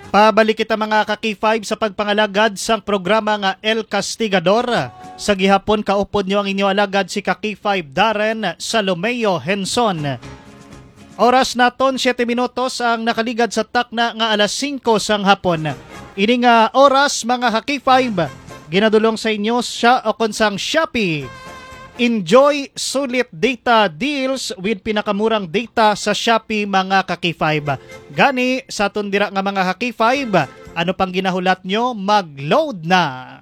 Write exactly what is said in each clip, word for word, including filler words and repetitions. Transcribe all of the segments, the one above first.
Pabalik kita, mga ka-K five, sa pagpangalagad sang programa nga El Castigador. Sa gihapon, kaupod nyo ang inyo alagad, si ka-K five Darren Salomeo Henson. Oras naton, siyete minutos ang nakaligad sa takna nga alas singko sang hapon. Ini nga oras, mga ka-K five, ginadulong sa inyo sa, o kon sang Shopee. Enjoy sulit data deals with pinakamurang data sa Shopee, mga ka-K five. Gani, sa aton dira nga mga ka-K five, ano pang ginahulat nyo? Mag-load na!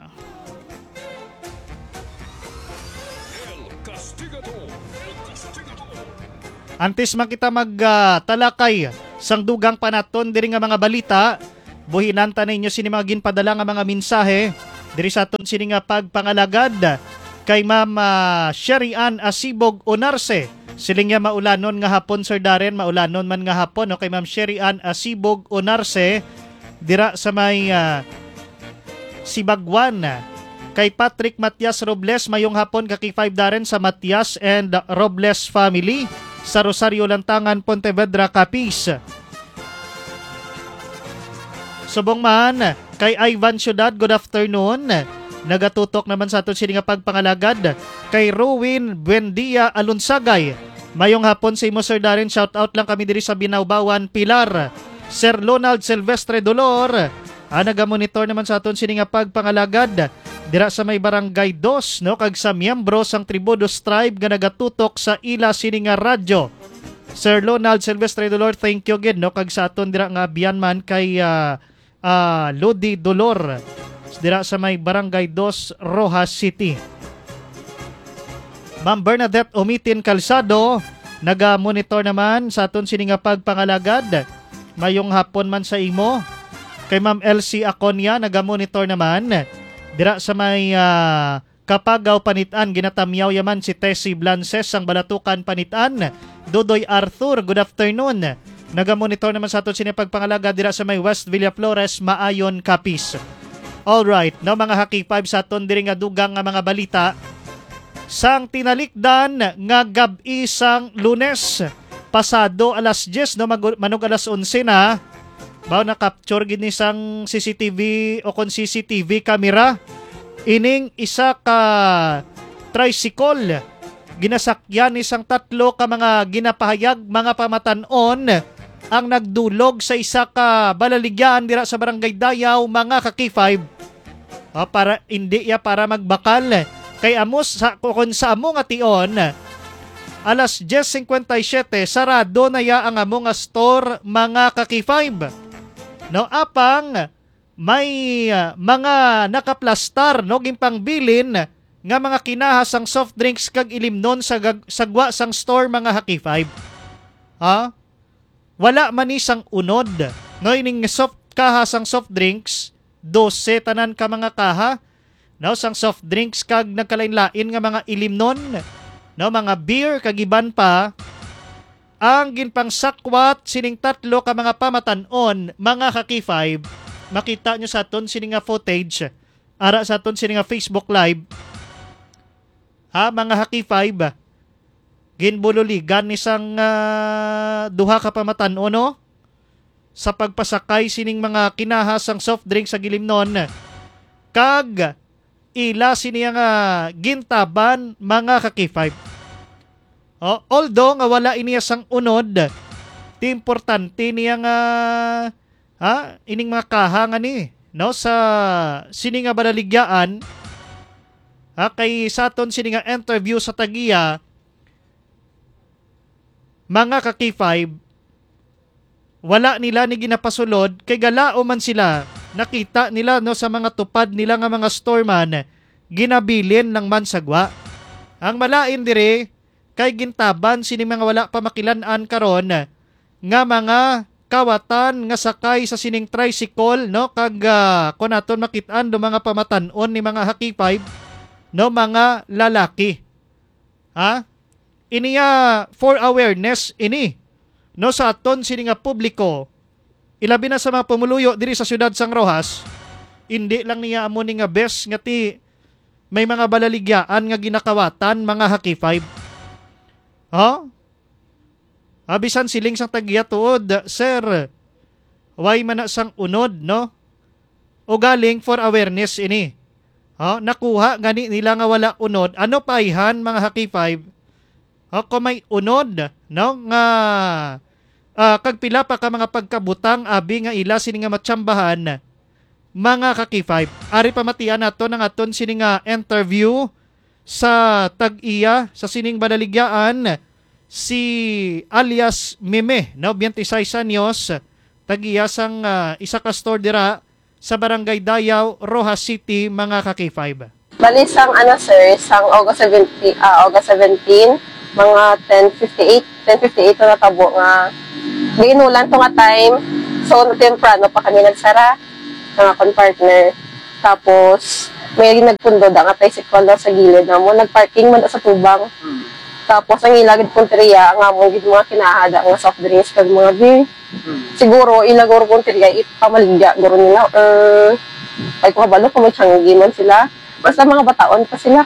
Antes man kita mag, ah, talakay sang dugang pa naton diri nga mga balita, buhinan ta ninyo sini mga ginpadala nga mga mensahe diri sa aton sini nga pagpangalagad kay Ma'am, ah, Sherry Ann Asibog Onarse. Siling niya, "Maulanon nga hapon, Sir Darren, maulanon man nga hapon," no? Kay Ma'am Sherry Ann Asibog Onarse dira sa may, ah, Sibagwan. Kay Patrick Matias Robles, mayong hapon, ka-K five Darren, sa Matias and Robles family sa Rosario Lantangan, Pontevedra, Capiz. Subong man kay Ivan Ciudad, good afternoon. Nagatutok naman sa aton sini nga pagpangalagad kay Ruin Buendia Alunsagay. Mayong hapon sa imo, Sir Darren. Shout out lang kami diri sa Binaobawan, Pilar. Sir Lonald Silvestre Dolor, ah, nagamonitor naman sa aton sini nga pagpangalagad dira sa may Barangay Dos, no, kag sa miyembro sang Tribudos Tribe nga nagatutok sa ila sini nga radyo. Sir Lonald Silvestre Dolor, thank you gid, no, kag sa aton dira nga abyan man kay, ah, ah, Lodi Dolor dira sa may Barangay Dos, Roxas City. Ma'am Bernadette Umitin Calzado, naga-monitor naman sa aton sini nga pagpangalagad. Mayong hapon man sa imo. Kay Ma'am Elsie Aconia, naga-monitor naman dira sa may, ah, Kapagaw, Panitan. Ginatamyaw yaman si Tessie Blances sang Balatukan, Panitan. Dodoy Arthur, good afternoon. Naga-monitor naman sa aton sini pagpangalagad dira sa may West Villaflores, Maayon, Capiz. All right, no, mga ka-K five, sa aton diri nga dugang nga mga balita, sang tinalikdan nga gab-i sang Lunes, pasado alas diyes, no, mag-, manog alas onse na, baw na-capture gid ni sang C C T V o kon C C T V camera ining isa ka tricycle. Ginasakyan ni sang tatlo ka mga ginapahayag, mga pamatan-on, ang nagdulog sa isa ka balaligyan dira sa Barangay Dayaw, mga ka-K five. Ah, para, hindi ya para magbakal. Kay amo sa, kung sa amo nga tion, alas diyes cincuenta y siete, sarado na ya ang amo nga store, mga ka-K five. No, apang may, ah, mga nakaplastar, no, ginpangbilin nga mga kinaha sang soft drinks kag ilimnon sa gag-, sagwa sang store, mga ka-K five. Ha? Wala man ni sang unod. No, ining soft, kaha sang soft drinks, dose tanan ka mga kaha, no, sang soft drinks kag nagkalain-lain nga mga ilimnon, no, mga beer kag iban pa, ang ginpangsakwat sining tatlo ka mga pamatan-on, mga ka-K five. Makita nyo sa aton sini nga footage, ara sa aton sini nga Facebook Live. Ha, mga ka-K five, ginbululigan ni sang, ah, duha ka pamatan-on, no? Sa pagpasakay sining mga kinaha sang soft drink sa gilimnon, kag ila sini nga gintaban, mga ka-K five. Oh, although nga wala ini sang unod, ti importante niya nga, ha, ining mga kaha nga ni, no, sa sini nga balaligyaan, ha, kay sa aton sini nga interview sa tagiya, mga ka-K five, wala nila ni ginapasulod kay galao man sila. Nakita nila, no, sa mga tupad nila nga mga store man, ginabilin lang man sagwa. Ang malain diri kay gintaban sini mga wala pa makilan-an karon nga mga kawatan nga sakay sa sining tricycle, no, kag, ah, kung naton makit-an do mga pamatan-on ni mga ka-K five, no, mga lalaki. Ha? Ini ya for awareness ini, no, sa aton sini nga publiko, ilabi na sa mga pumuluyo diri sa siyudad sang Roxas. Indi lang niya amo ni nga bes nga ti may mga balaligyaan nga ginakawatan, mga ka-K five. Ha? Ah, bisan siling sang tagiya tuod, sir. Why man na sang unod, no? O galing for awareness ini. Ha, nakuha gani nila nga wala unod. Ano pa ayhan, mga ka-K five? Ha, kung may unod, no, nga, ah, kag pila pa ka mga pagkabutang abi nga ila sini nga matsambahan, mga ka-K five. Ari pamatian nato ang aton sini nga interview sa tag-iya sa sining balaligyaan, si alias Meme, no, twenty-six anyos, tag-iya sang, ah, isa ka store dira sa Barangay Dayaw, Roxas City, mga ka-K five. Bali, sang, ano, sir, sang August seventeen, ah, August seventeen, mga ten fifty-eight, ten fifty-eight na natabo nga giinulan to nga time. So, temprano pa kami nagsara, nga akon partner. Tapos, may nagpundo da nga tricycle daw sa gilid namo, nagparking man da sa tubang. Hmm. Tapos, ang ila gid punteriya, ang amon gid mga kinahada nga soft drinks kag mga beer. Hmm. Siguro, ila guro punteriya, ipamaligya guro nila, or ay ko kabalo kung may tiyanggi man sila. Basta mga bataon pa sila.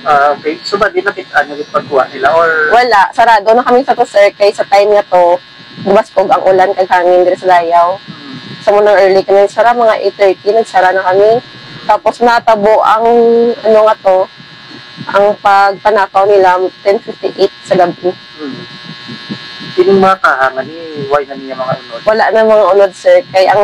Ah, okay. So, ba, di nakit-, ano, yung pagkuha nila, or? Wala, sarado na kami sa to, sir, kay sa time nga to, gumaskog ang ulan kag hangin diri sa Dayaw. Hmm. Sa munang early kami nagsara, mga eight thirty, nagsara na kami. Tapos natabo ang, ano nga to, ang pagpanakaw nila, ten fifty-eight sa gabi. Hmm. Ining mga kaha nga ni, why na niya mga unod? Wala na mga unod, sir. Kay ang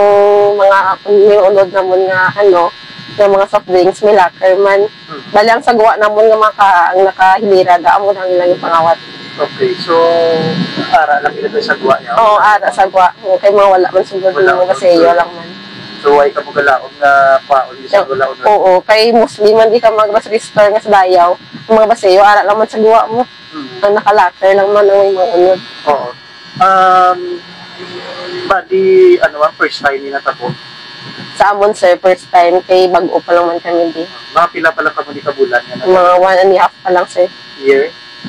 mga, yung unod namon nga, ano, nga mga soft drinks, may locker man. Hmm. Bali, ang sagwa namon nga mga kaha, ang nakahilira, da, amo na ang ilang ipangawat. Okay, so, ara lang ila sa sagwa niya? Oo, ara, sagwa. Oo, kay mga wala man sugod, wala mga man baseyo sugod lang man. So, why ka mo galaom nga kwaon, isang wala unod? Oo, kay mostly man di ka mag-grocery store nga sa Dayaw. Ang mga baseyo, ara lang man sagwa mo. Mm. Ang naka-locker lang man ang mga unod. Oo. Um, bali, ano, ang first time ni natabo? Sa amon, sir, first time, kay bag-o pa lang man kami di. Mga pila pa lang kamo di kabulan nga natabo? Mga one and a half pa lang, sir. Year?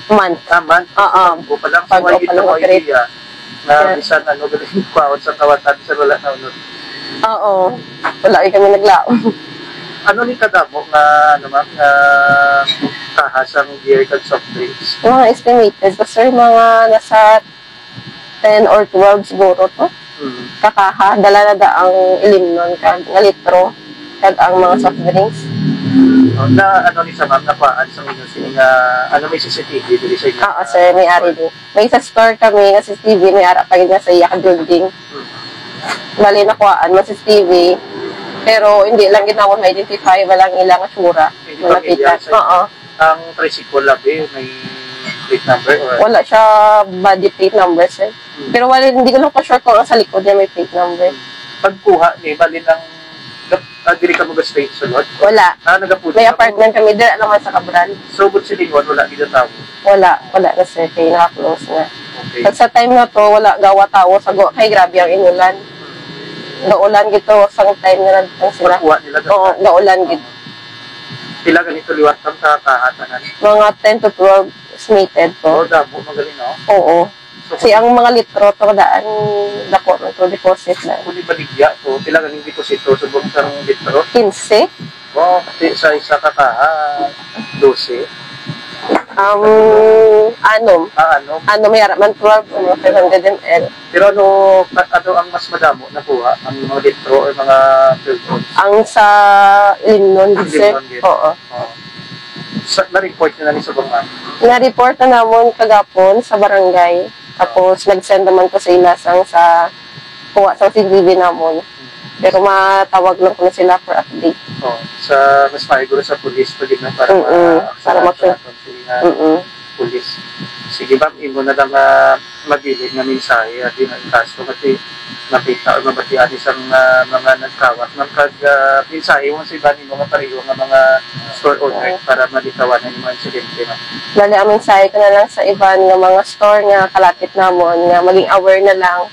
Month. Ah, month? Oo. Bag-o pa lang. So, bag-o pa lang, idea na, yeah, bisan ano, galing kwaon sa kawatan, bisan wala na unod. Oo. Wala, eh, kami naglaom. Ano ni kadamo nga, ano, ma'am, nga kaha sang beer kag soft drinks? Mga estimated ko, sir, mga nasa ten or twelve siguro to. Mm. Kakaha, dala na da ang ilimnon kag nga litro, kag ang mga soft drinks. Oh, na ano ni sa ma'am, nakuhaan sa inyo sini nga, ano, may C C T V diri sa inyo? Oo, sir, may ari din. May sa store kami nga C C T V, may ara pa gid nga sa iya ka building. Hmm. Bali, nakuhaan mo C C T V, pero hindi lang gid namon ma-identify, walang ilang tsura. Hindi. Malapitan. Pamilyar sa inyo? Oo. Ang tricycle, abi, may plate number or? Wala siya body plate number, sir. Hmm. Pero wala, hindi ko lang pa sure kung ang sa likod niya may plate number. Pagkuha ni, bali ng, ah, diri ka mag-stay sulod? Wala. Ah, nagapuno. May ka po? Apartment kami, dira naman sa Cabral. So, but silingon, wala gid ang tawo? Wala, wala na, sir, kay naka-close na. Okay. Pag sa time na to, wala gawa tawo sa go, kay grabe ang inulan. Gaulan gid to, sa time nga nagtang sila. Pagkuha nila. Oo, gaulan gid. Pila ganito liwat ang kakahatanan? Mga ten to twelve estimated to. Oh, damo, magaling, no? Oo. So, si ang mga litro to, daan, dako na to, deposit na. Kung ibaligya to, pila ganing deposito subong sang litro? Quince. Wow, ti-, sa isa ka kaha, dose. Um, anom. Ah, anom. Anom, may ara man twelve, ano, five hundred M L. Pero ano, ka-, ano ang mas madamo nakuha? Ang mga litro or mga twelve ounce? Ang sa Limnon, sir. Limnon, yes. Oo. Oo. Sa, na-report na ni sa mga? Na-report na namon kagapon sa barangay. Tapos, nag-send naman ko sa ila sang sa kuha sa C C T V namon. Pero matawag lang ko na sila for update. Oh, sa mas maayo guro sa pulis pa gid na para, mm-mm, ma-aksyonan para ma-action naton sila nga, mm-mm, pulis. Sige, ma'am, imo na lang, ah, mabilin nga mensahe, abi, nga ikasto nga ti-, makita o mabatian isang, ah, mga nagkawat, ma'am, kag, ah, mensahe mo sa iban nimo nga pareho nga mga store owner, oo, para malikawan ang mga insidente, ma'am. Bali, ang mensahe ko na lang sa iban nga mga store nga kalapit namon nga maging aware na lang.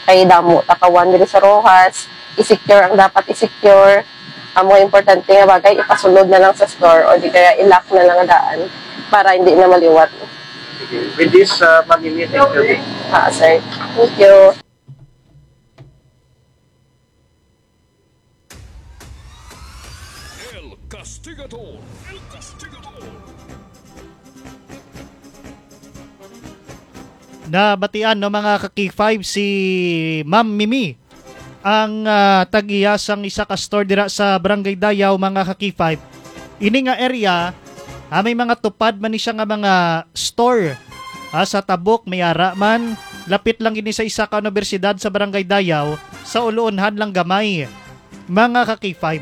Kay damo takawan diri sa Roxas, i-secure ang dapat i-secure. Ang mga importante nga bagay, ipasulod na lang sa store o di kaya i-lock na lang ang daan para hindi na maliwat. Sige. With this, uh, Ma'am Mimi, thank you. Ah, sir. Thank you. El Castigador. El Castigador. Nabatian, no, mga ka-K five, si Ma'am Mimi. ang, ah, tag-iya sang isa ka store dira sa Barangay Dayaw, mga ka-K five. Ini nga area, ah, may mga tupad man ni siya nga mga store. Ah, sa Tabok, may ara man. Lapit lang ini sa isa ka universidad sa Barangay Dayaw, sa Uluunhan lang gamay, mga ka-K five.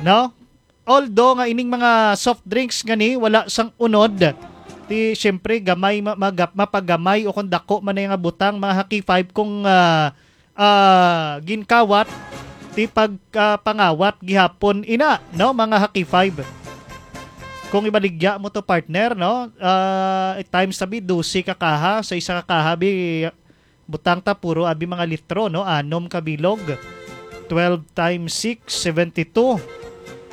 No? Although nga ining mga soft drinks nga ni wala sang unod, ti siyempre gamay ma-, magap-, mapagamay o kung dako man na nga butang, mga ka-K five, kung, ah, ah, ginkawat ti pag, ah, pangawat gihapon ina, no, mga ka-K five. Kung ibaligya mo to, partner, no, ah, times tabi dose ka kaha sa isa ka kaha, bi, butang ta puro abi mga litro, no, anom ka bilog. Twelve times six, seventy-two.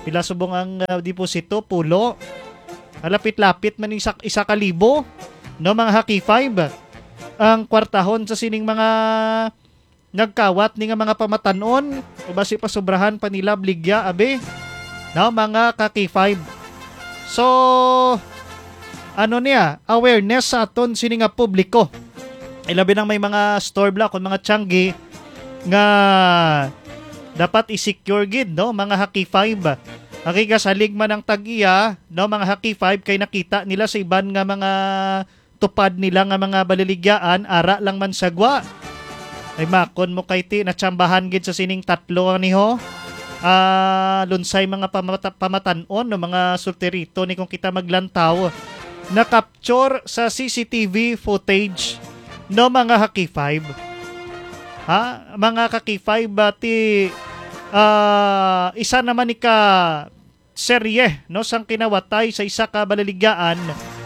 Pila subong ang, ah, deposito? Pulo. Malapit-lapit man isa, isa ka libo, no, mga ka-K five, ang kwartahon sa sining mga nagkawat ni nga mga pamatanon, o basi pa sobrahan pa nila bligya, abi, no, mga ka-K five. So, ano niya, awareness sa aton sini nga publiko. Ilabi nang may mga store block o mga tiyanggi nga dapat i-secure gid, no, mga ka-K five. Ang kasalig man ang tag-iya, no, mga ka-K five, kay nakita nila sa iban nga mga tupad nila nga mga baliligyaan, ara lang man sagwa. Ay, makon mo kay ti, natsambahan gid sa sining tatlo ani ho. Ah, lunsay mga pamata-, pamatan-on, no, mga sultirito ni kung kita maglantaw. Nakapture sa C C T V footage, no, mga ka-K five. Ha? Mga ka-K five, ah, ti, ah, isa naman ni ka serye, no, sang kinawatay sa isa ka balaligyaan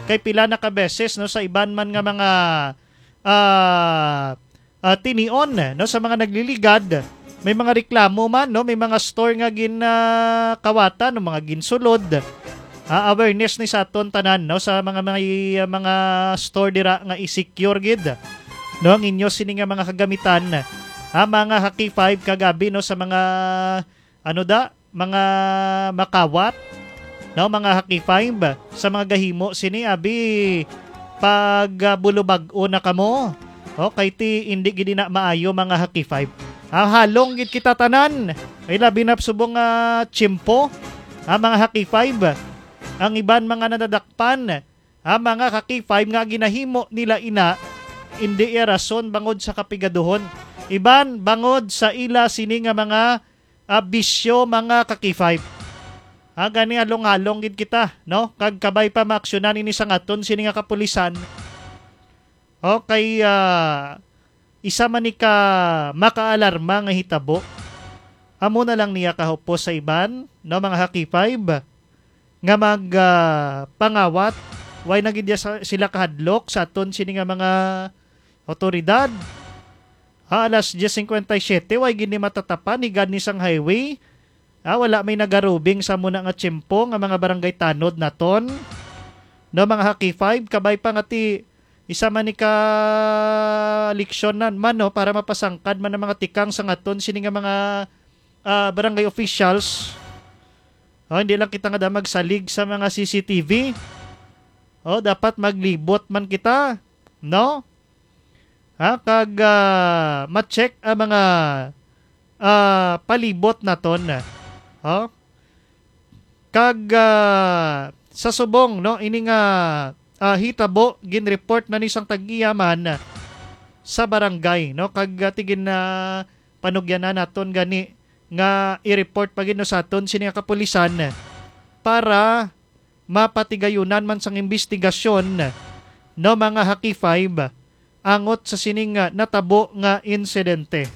kay pila na ka beses, no, sa iban man nga mga, ah, ah, tinion, no, sa mga nagliligad. May mga reklamo man, no, may mga store nga gin, ah, kawatan, no, mga ginsulod. Ah, awareness ni sa aton tanan, no, sa mga, mga, mga store dira nga i-secure gid, no, ang inyo sini nga mga kagamitan, ha, mga ka-K five, kagabi, no, sa mga, ano da, mga makawat, no, mga ka-K five, sa mga gahimo sini, abi, pag, ah, bulubag-o na kamo, okay, ti, hindi gid na maayo, mga ka-K five. Ah, halong gid kita tanan, ay labi na subong nga tiyempo, ah, mga ka-K five, ang iban mga nadadakpan, ah, mga ka-K five, nga ginahimo nila ina, hindi iya rason bangod sa kapigaduhon, iban bangod sa ila sini nga mga ah, bisyo, mga ka-K five. Ah, gani halong-halong gid kita, no? Kag kabay pa maaksyonan ini sang aton sini nga kapulisan. Okay, ah, isa man ni ka makaalarma nga hitabo. Amo na lang niya kahupos sa iban, no, mga ka-K five, nga mag, ah, pangawat. Way na gid ya sa, sila kahadlok sa aton sini nga mga awtoridad. Ha, alas diyes cincuenta y siete, way gid ni matatapan, higad ni sang highway. Ah, wala may nagarubing sa muna nga tiyempo nga mga barangay tanod naton. No, mga ka-K five, kabay pa nga ti isa man ni ka leksyon na man, no, para mapasangkad man ang mga tikang sa ngaton sini nga mga, ah, barangay officials. Oh, hindi lang kita nga da magsalig sa mga C C T V. Oh, dapat maglibot man kita, no? Ha, kag, ah, ma-check ang mga, ah, palibot naton. Oh? Kag, ah, sa subong, no, ini nga, ah, hitabo, gin-report na ni sang tag-iya man sa barangay, no? Kag, ah, tigin na panugyanan naton gani nga i-report pa gid, no, sa aton sini nga kapulisan para mapatigayunan man sang imbestigasyon, no, mga ka-K five, angot sa sining, ah, natabo nga insidente.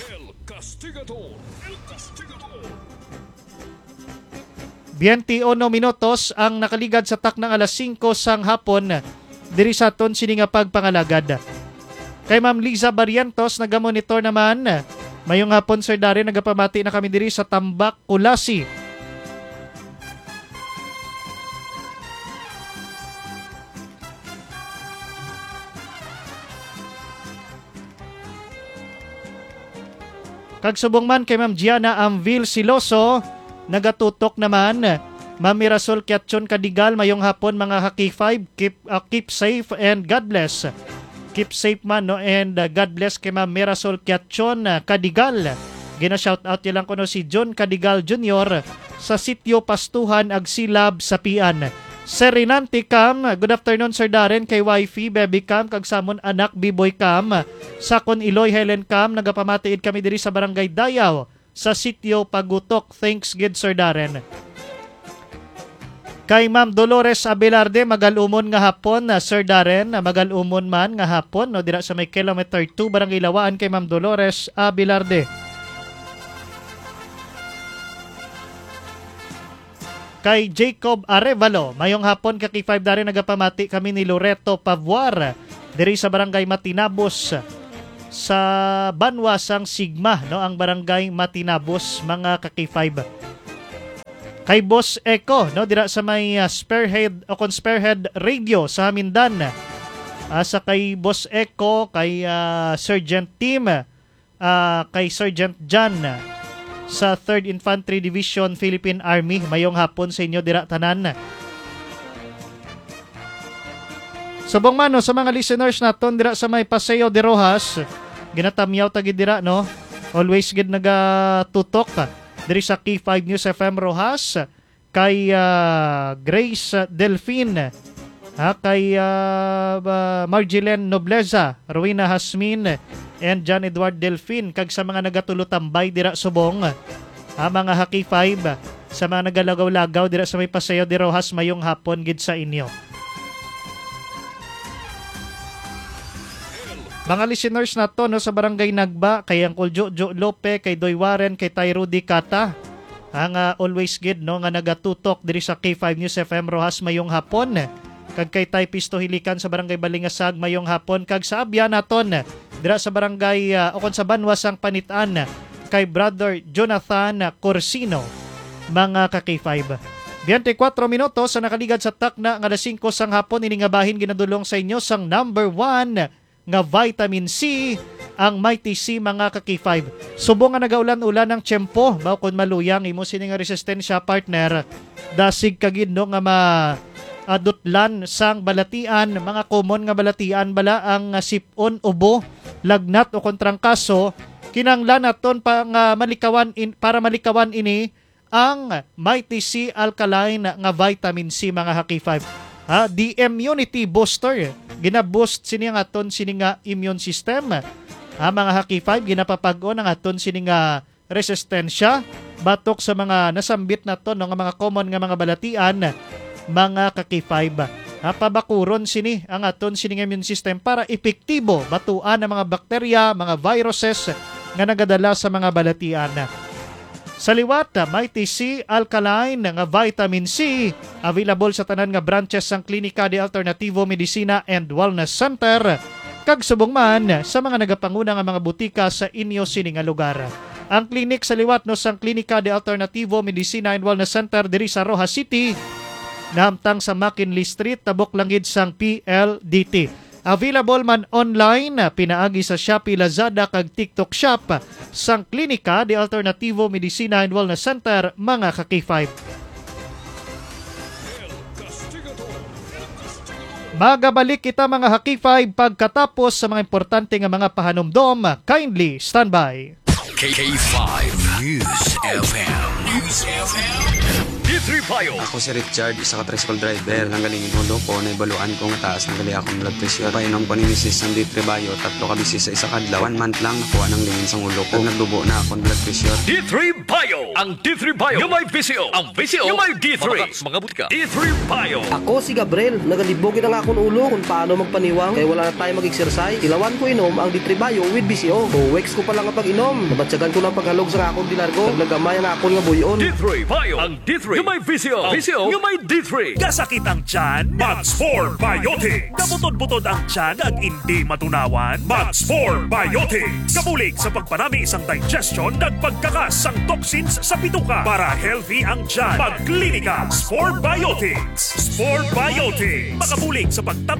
El Castigador. El Castigador. Twenty-uno minutos ang nakaligad sa taknang alas singko sang hapon diri sa aton sini nga pagpangalagad. Kay Ma'am Liza Barrientos, nagamonitor naman. Mayong hapon, Sir Darren. Nagapamati na kami diri sa Tambak, Culasi. Kag subong man kay Ma'am Gianna Amvil Siloso, nagatutok naman. Ma'am Mirasol Kiatchon Kadigal, mayong hapon, mga ka-K five. Keep, uh, keep safe and God bless. Keep safe man, no? And, uh, God bless kay Ma'am Mirasol Kiachon, uh, Cadigal. Gina-shout out niya lang kuno si John Cadigal Junior sa Sitio Pastuhan, Agsilab, Sapian. Sir Renante Cam, good afternoon, Sir Darren, kay wifey, baby Cam, kag sa amon anak, Biboy Cam. Sa akon iloy, Helen Cam, nagapamatiid kami diri sa Barangay Dayaw, sa Sitio Pagutok. Thanks gid, Sir Darren. Kay Ma'am Dolores Abelarde, magalumon nga hapon, ah, Sir Darren, ah, magalumon man nga hapon, no, dira sa may kilometer two, Barangay Lawaan, kay Ma'am Dolores Abelarde. Kay Jacob Arevalo, mayong hapon, ka K five Darren, nagapamati kami ni Loreto Pavuar, diri sa Barangay Matinabos, sa banwa sang Sigma, no, ang Barangay Matinabos, mga ka K five. Kay Boss Echo, no, dira sa may, ah, Spearhead o kon Spearhead Radio sa Hamindan. Ah, sa kay Boss Echo, kay, ah, Sergeant Tim, ah, kay Sergeant John sa Third Infantry Division, Philippine Army. Mayong hapon sa inyo dira tanan. Subong man, no, sa mga listeners naton dira sa may Paseo de Rojas, ginatamyaw ta gid dira, no? Always gid nagatutok diri sa K five News F M Rojas, kay, ah, Grace Delfin, ha, kay, ah, ba-, Marjelen Nobleza, Rowena Hasmin, and John Edward Delfin, kag sa mga nagatulotambay dira subong, ha, mga ha K five, sa mga nagalagaw-lagaw dira sa may Paseo de Rojas, mayong hapon gid sa inyo. Mga listeners nato, no, sa Barangay Nagba, kay Uncle Jojo Lope, kay Doy Warren, kay Tay Rudy Cata, ang, ah, always gid, no, nga nagatutok diri sa K five News F M Rojas, mayong hapon. Kag kay Tay Pisto Hilikan sa Barangay Balingasag, mayong hapon. Kag sa abyan naton, dira sa barangay, ah, o kon sa banwa sang Panitan, kay Brother Jonathan Corsino, mga ka K five. Biyente kwatro minutos sa nakaligad sa takna nga alas singko sang hapon, ini nga bahin ginadulong sa inyo sang number one nga vitamin C, ang Mighty C, mga ka K five. Subong nga nagaulan-ulan ang tiyempo, mao kon maluyang imo sini nga resistensya, partner, dasig ka gid, no, nga ma-, adutlan sang balatian, mga common nga balatian bala ang, ah, sip-on, ubo, lagnat o kon trangkaso, kinahanglan naton pa nga malikawan in-, para malikawan ini ang Mighty C Alkaline nga vitamin C, mga ha K five. Ha, the immunity booster. Gina-boost sini ang aton sini nga immune system. Ha, mga ha K five, ginapapag-on ang aton sini nga resistensya batok sa mga nasambit naton, no, nga mga common nga mga balatian, mga ka K five. Ha, pabakuron sini ang aton sini nga immune system para epektibo batuan ang mga bakterya, mga viruses nga nagadala sa mga balatian. Sa liwat, Mighty C Alkaline nga vitamin C, available sa tanan nga branches sang Klinika de Alternativo Medicina and Wellness Center, kag subong man sa mga nagapanguna nga mga butika sa inyo sini nga lugar. Ang klinik sa liwat, no, sang Klinika de Alternativo Medicina and Wellness Center diri sa Roxas City, nahamtang sa McKinley Street, tabok lang gid sang P L D T. Available man online, pinaagi sa Shopee, Lazada, kag TikTok Shop sang Klinika de Alternativo Medicina and Wellness Center, mga ka K five. Magabalik kita, mga ha K five, pagkatapos sa mga importante nga mga pahanumdom. Kindly standby. K five News F M. News F M. D three Bio. Ako si Richard, isa ka tricycle driver. Nanggaling in ulo ko, naibaluan ko nga taas na gali akong blood pressure. Painom ko ni misis sang D three Bio, tatlo ka beses sa isa ka adlaw. One month lang, nakuha nang lingin sang ulo ko. Nagdubo na akong blood pressure. D three Bio. Ang D three Bio nga may V C O. Ang V C O nga may D three. Mga, mga butika. D three Bio. Ako si Gabriel. Nagalibog gid ang akon ulo kung paano magpaniwang kay wala na tayo mag-exercise. Ilawan ko inom ang D three Bio with V C O. Two weeks ko pa lang ang pag-inom. Nabatyagan ko na ang paghalog sa akon dinargo. Naglagamay ang akon nga buy-on. D three Bio. Ang D three nga may V C O. V C O nga may D three. Kasakit ang tiyan? Mag Spore Biotics. Kabutod-butod ang tiyan ag indi matunawan? Mag Spore Biotics. Kabulig sa pagpanami sang digestion kag pagkakas sang toxins sa bituka para healthy ang tiyan. Mag Klinika Spore Biotics. Spore Biotics. Makabulig sa pagtap